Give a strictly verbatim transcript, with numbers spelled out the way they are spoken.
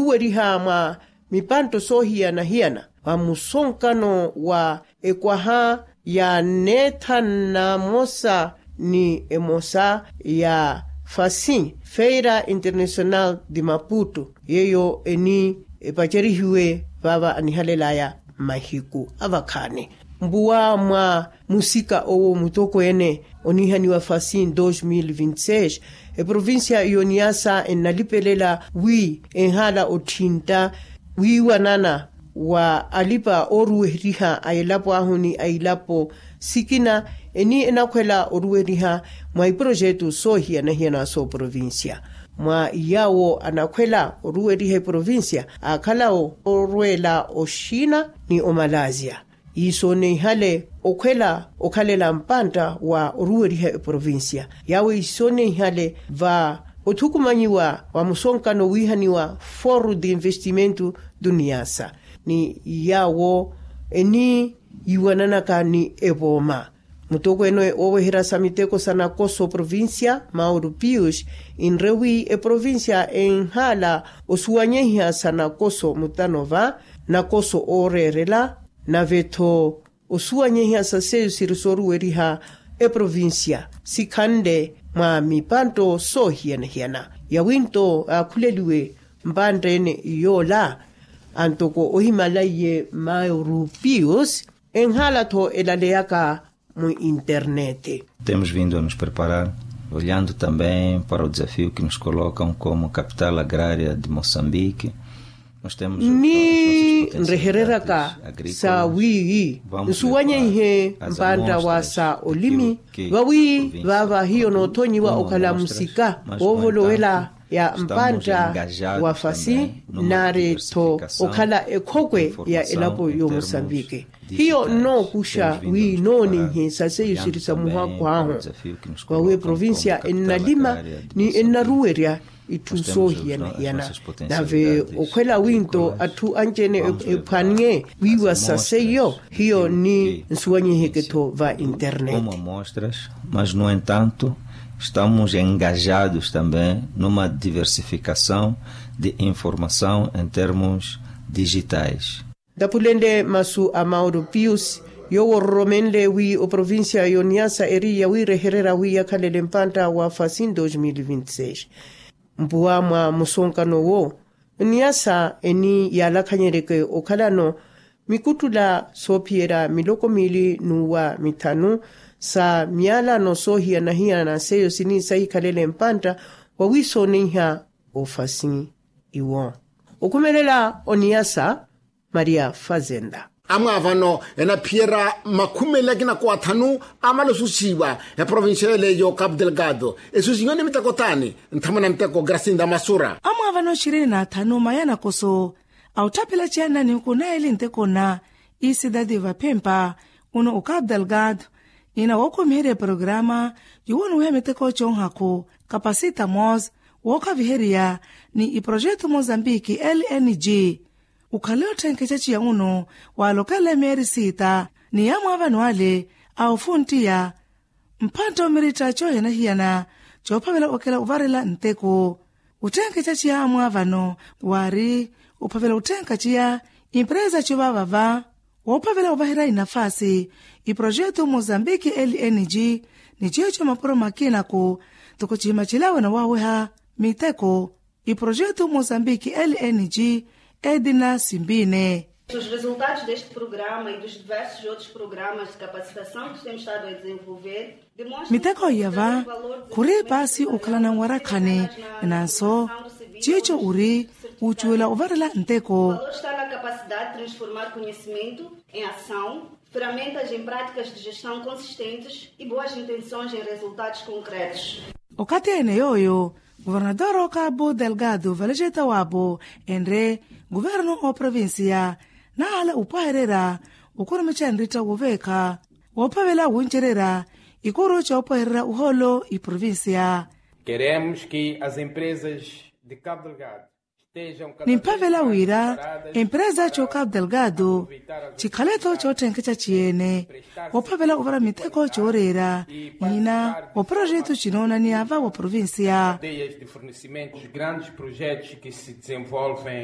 oruweriha mwa mipanto soohiyana-hiyana mwa musonkano wa ekwaha ya neetha namosa ni emosa ya fasi feira international de maputo yeeyo eni epacerihiwe vaava anihalelaya mahiku avakhaani. Mpuwa mwa musika owo mutokweene onihaniwa fasi dos mil vinti seis eprovincia yoniyasa ennalipelela wi enhala otthintta wiiwanana wa alipa ooruweriha a elapo ahu ni a ilapo sikina eni enakhwela oruweriha mwa iprojetu soohiyana-hiyana sooprovincia. Mwa yaawo anakhwela oruweriha eprovincia aakhala orweela oxina ni omalazia iisoneihale okhwela okhalela mpantta wa oruweriha eprovincia yaawo iisoneihale va othukumanyiwa wa musonkano wiihaniwa foru de investimento duniasa ni yaawo eni yiiwananaka ni evooma mutokweene ooweherya sa miteko sa nakoso provincia mauru pius inre wi eprovincia enhaala osuwanyehiha sa nakoso mutano va nakoso ooreerela nave-tho osuwanyehiha sa seiyo siri sooruweriha eprovincia sikhanle mwa mipanto soohiyana-hiyana yawinto aakhuleliwe mpantte-ene yoola antoko ohimala iye mauru pius enhaala-tho elaleyaka mu internet. Temos vindo a nos preparar olhando também para o desafio que nos colocam como capital agrária de moçambique. Ni nrehereraka sa wi nsuwanyeihe mpantta wa sa olimi vawi vaava hiyo noothonyiwa okhala musika woovolowela ya mpantta wa fasi nari-tho okhala ekhokwe ya elapo y'omusambiki hiyo nnookuxa wi nooneihe sa seiyo siri sa muhakhu ahu. Vawi eprovincia ennalima ni ennaruwerya itthu soohiyana-hiyana nave okhwela winto atthu anci-ene ephwaniye wiiwa sa seiyo hiyo ni nsuwanyiheke-tho va internet. Mas no entanto estamos engajados também numa diversificação de informação em termos digitais. Ntaphulenle masu a mauro pius yoowo ororomenle wi oprovincia y'oniyasa eri yawiirehererya wi yakhalele mpantta wa fasi dos mil vinti seis mpuwa mwa musonkano wo oniyasa eni yaalakhanyereke okhalano mikuttula soophiyerya miloko miili n'uwa mithanu sa miyalano soohiyana-hiyana seiyo sini sahikhalele mpantta wa wiisooneiha ofasi iwo okhumelela oniyasa maria fazenda. Amwaavano enaphiyerya makhumi eli akina kuwathanu amala osusiwa eprovincia ele y'ocapo delgado esusiwe ni miteko taani nthamana nteko grasinda masura. Amwaavano ishirini na athanu maya nakoso a otthaphela ciyanna nihuku naeli nteko nna isidadi vaphempa uno ocapo delgado ina wookhumiherya eprograma yowonuwiha miteko conhaku kapasita mos wookhaviheriya ni iprojetu mozambiki lng ukhale otthenkeca ciya uno waalokela emeeri siita ni amwaavano ale a ofunttiya mphantta omiritta coohiyana-hiyana coophavela okela ovarela nteko otthenkeca ciya amwaavano waari ophavela otthenka ciya impresa covaavava woophavela ovaherya inafaasi iprojetu mozambiki lng ni ciico mapuro makinaku ntoko cihima cilaawe nawaaweha miteko iprojetu mozambiki lng edina simbine. Os resultados deste programa e dos diversos outros programas de capacitação que temos estado a desenvolver miteko iyava khuri paasi okhalana nwarakhani nanso ciico ori ucuwela ovarela nteko. Valor está na capacidade de transformar conhecimento em ação, ferramentas em práticas de gestão consistentes e boas intenções em resultados concretos. Okathi ene yooyo governador okabu delgado valejeta wabu enre governo oprovincia nahala opwahererya okurumica nritta woveekha woophavela wuncererya ikuru coopwehererya ohoolo iprovincia. Queremos que as empresas de cabo delgado nimphavela wira empresa cocapo delgado cikhale-tho cootthenkeca ciyeene woophavela ovara miteko cooreera nyina wa projeto cinoonaniyava wa provincia. Os grandes projetos que se desenvolvem